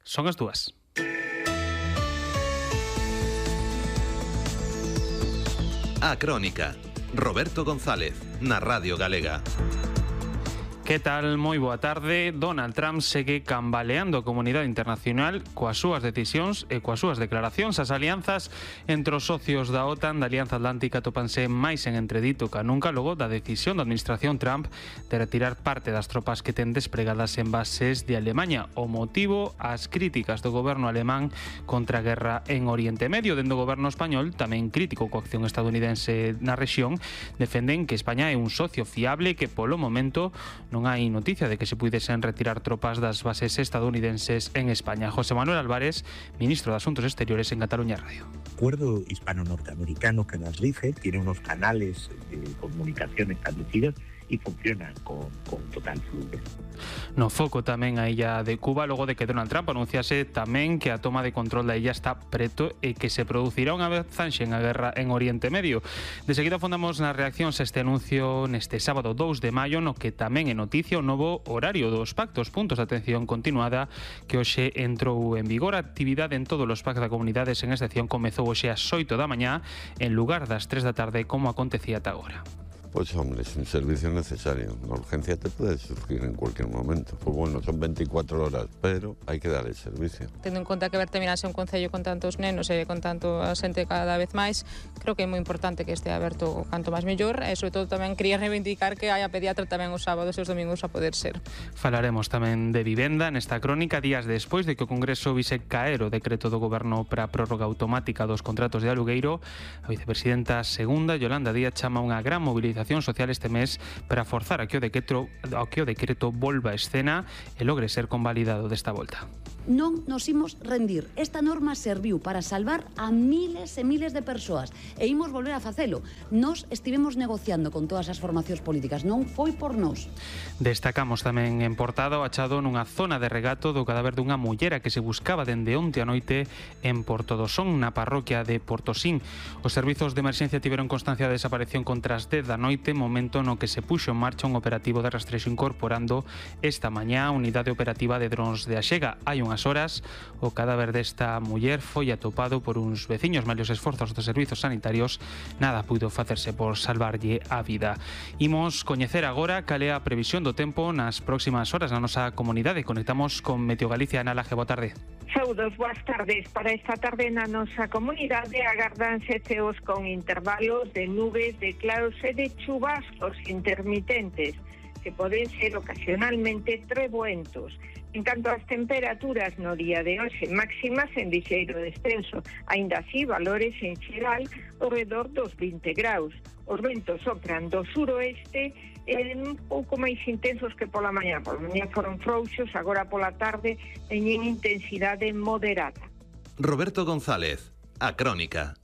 Son as 2. A Crónica. Roberto González, na Radio Galega. Que tal? Moi boa tarde. Donald Trump segue cambaleando a comunidade internacional coas súas decisións e coas súas declaracións. As alianzas entre os socios da OTAN da Alianza Atlántica topanse máis en entredito ca nunca logo da decisión da administración Trump de retirar parte das tropas que ten despregadas en bases de Alemaña. O motivo, as críticas do goberno alemán contra a guerra en Oriente Medio. Dende o goberno español, tamén crítico coa acción estadounidense na rexión, defenden que España é un socio fiable e que polo momento non hai noticia de que se puidesen retirar tropas das bases estadounidenses en España. José Manuel Álvarez, ministro de Asuntos Exteriores en Cataluña Radio. El acuerdo hispano-norteamericano que nos rige tiene unos canales de comunicación establecidos y funcionan con total fluidez. No foco tamén a illa de Cuba, logo de que Donald Trump anunciase tamén que a toma de control da illa está preto e que se producirá unha avanzanxe en a guerra en Oriente Medio. De seguida fondamos nas reaccións a este anuncio neste sábado 2 de maio, no que tamén é noticia o novo horario dos pactos, puntos de atención continuada, que hoxe entrou en vigor. A actividade en todos os pactos da comunidade sen excepción comezou hoxe ás 8 da mañá en lugar das 3 da tarde como acontecía ata agora. Pues hombre, es un servicio necesario. La urgencia te puede surgir en cualquier momento. Pues bueno, son 24 horas, pero hay que dar el servicio. Tendo en conta que Bertaminas é un concello con tantos nenos e con tanto xente cada vez máis, creo que é moi importante que este aberto canto máis mellor e, sobre todo, tamén quería reivindicar que haya pediatra tamén os sábados e os domingos a poder ser. Falaremos tamén de vivenda nesta crónica días despois de que o Congreso vise caer o decreto do Goberno para a prórroga automática dos contratos de alugueiro. A vicepresidenta segunda, Yolanda Díaz, chama unha gran movilización social este mes para forzar a que o decreto volva a escena e logre ser convalidado desta volta. Non nos imos rendir. Esta norma serviu para salvar a miles e miles de persoas e imos volver a facelo. Nos estivemos negociando con todas as formacións políticas, non foi por nós. Destacamos tamén en portada o achado nunha zona de regato do cadáver dunha mullera que se buscaba dende onte a noite en Portodosón, na parroquia de Portosín. Os servizos de emerxencia tiveron constancia de desaparición contra as 10 da noite, momento no que se puxo en marcha un operativo de rastrexo incorporando esta mañá a unidade operativa de drons de Axega. Hai unhas horas o cadáver desta muller foi atopado por uns veciños. Malos esforzos dos servizos sanitarios, nada puido facerse por salvarlle a vida. Imos coñecer agora cal é a previsión do tempo nas próximas horas na nosa comunidade. Conectamos con Meteo Galicia. Ana Laje, boa tarde. Saúdos, boas tardes. Para esta tarde na nosa comunidade agardanse ceos con intervalos de nubes, de claros e de chubascos intermitentes que poden ser ocasionalmente trebuentos. En canto ás temperaturas no día de hoxe, máximas en lixeiro descenso, aínda así valores en xeral ao redor dos 20 graus. Os ventos sopran do suroeste un pouco máis intensos que pola mañá. Pola mañá foron frouxos, agora pola tarde teñen intensidade moderada. Roberto González, A Crónica.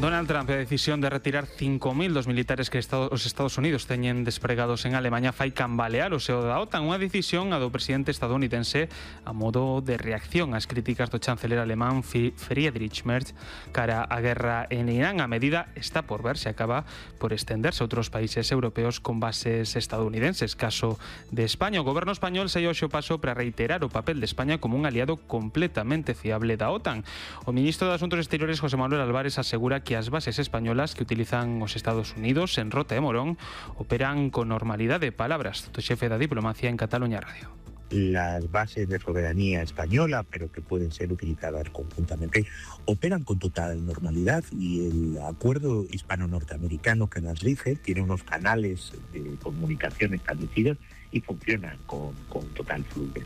Donald Trump a decisión de retirar 5.000 dos militares que os Estados Unidos teñen despregados en Alemanha fai cambalear o seo da OTAN, unha decisión a do presidente estadounidense a modo de reacción ás críticas do chanceler alemán Friedrich Merz cara á guerra en Irán. A medida está por ver se acaba por estenderse a outros países europeos con bases estadounidenses. Caso de España, o goberno español saiu hoxe o paso para reiterar o papel de España como un aliado completamente fiable da OTAN. O ministro de Asuntos Exteriores, José Manuel Álvarez, asegura que as bases españolas que utilizan os Estados Unidos en Rota e Morón operan con normalidade. Palabras do xefe da diplomacia en Cataluña Radio. Las bases de soberanía española, pero que pueden ser utilizadas conjuntamente, operan con total normalidad y el acuerdo hispano-norteamericano que nos rige tiene unos canales de comunicación establecidos y funcionan con total fluidez.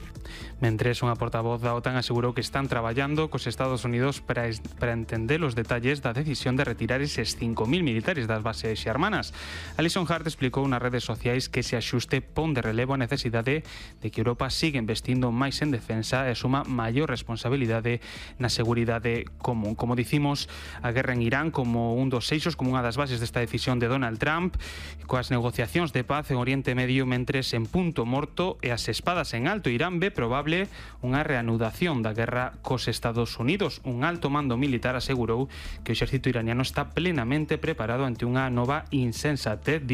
Mentres, unha portavoz da OTAN asegurou que están traballando cos Estados Unidos para entender os detalles da decisión de retirar eses 5.000 militares das bases xermanas. Alison Hart explicou nas redes sociais que ese axuste pon de relevo a necesidade de que Europa siga investindo máis en defensa e suma maior responsabilidade na seguridade común. Como dicimos, a guerra en Irán como un dos eixos, como unha das bases desta decisión de Donald Trump, coas negociacións de paz en Oriente Medio mentres en punto morto e as espadas en alto. Irán ve probable unha reanudación da guerra cos Estados Unidos. Un alto mando militar asegurou que o exército iraniano está plenamente preparado ante unha nova insensatez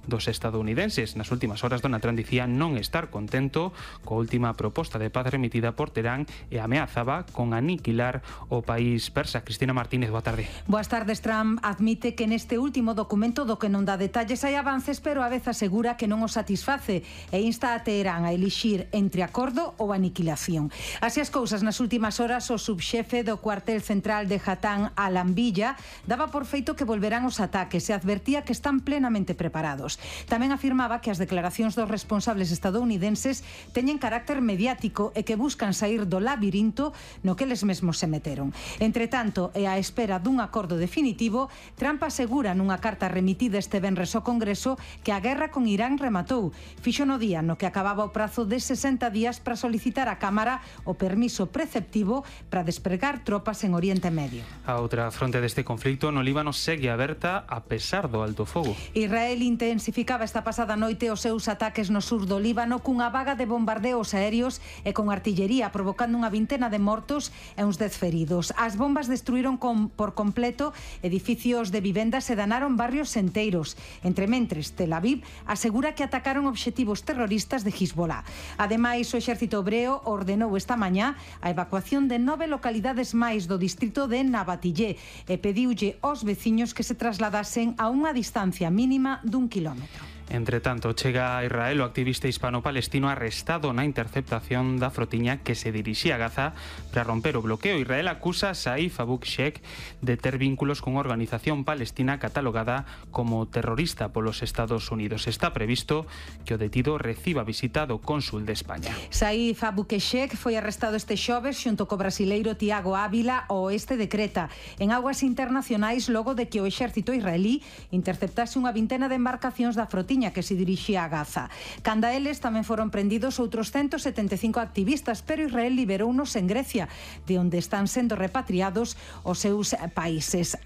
dos estadounidenses. Nas últimas horas, Donald Trump dicía non estar contento coa última proposta de paz remitida por Terán e ameazaba con aniquilar o país persa. Cristina Martínez, boa tarde. Boas tardes. Trump admite que neste último documento do que non dá detalles hai avances, pero a vez asegura que non o satisface e insta a Teherán a elixir entre acordo ou aniquilación. Así as cousas, nas últimas horas o subxefe do cuartel central de Hatán, Al-Anbiyya, daba por feito que volverán os ataques e advertía que están plenamente preparados. Tamén afirmaba que as declaracións dos responsables estadounidenses teñen carácter mediático e que buscan sair do labirinto no que eles mesmos se meteron. Entre tanto, e á espera dun acordo definitivo, Trump asegura nunha carta remitida este venres ao Congreso que a guerra con Irán rematou. Fixo no día no que acababa o prazo de 60 días para solicitar á Cámara o permiso preceptivo para despregar tropas en Oriente Medio. A outra fronte deste conflito no Líbano segue aberta a pesar do alto fogo. Israel intensificaba esta pasada noite os seus ataques no sur do Líbano cunha vaga de bombardeos aéreos e con artillería, provocando unha vintena de mortos e uns 10 feridos. As bombas destruíron por completo edificios de vivendas e danaron barrios enteiros. Entre mentres, Tel Aviv asegura que atacaron obxectivos terroristas de Hezbollah. Ademais, o exército hebreo ordenou esta mañá a evacuación de 9 localidades máis do distrito de Nabatillé e pediulle aos veciños que se trasladasen a unha distancia mínima d'1 kilómetro. Entre tanto, chega a Israel o activista hispano-palestino arrestado na interceptación da frotiña que se dirixía a Gaza para romper o bloqueo. Israel acusa a Saif Abu Sheikh de ter vínculos con unha organización palestina catalogada como terrorista polos Estados Unidos. Está previsto que o detido reciba visita do cónsul de España. Saif Abu Sheikh foi arrestado este xoves xunto co brasileiro Tiago Ávila ao oeste de Creta, en aguas internacionais, logo de que o exército israelí interceptase unha vintena de embarcacións da frotiña que se dirixía a Gaza. Canda eles tamén foron prendidos outros 175 activistas, pero Israel liberounos en Grecia, de onde están sendo repatriados os seus países.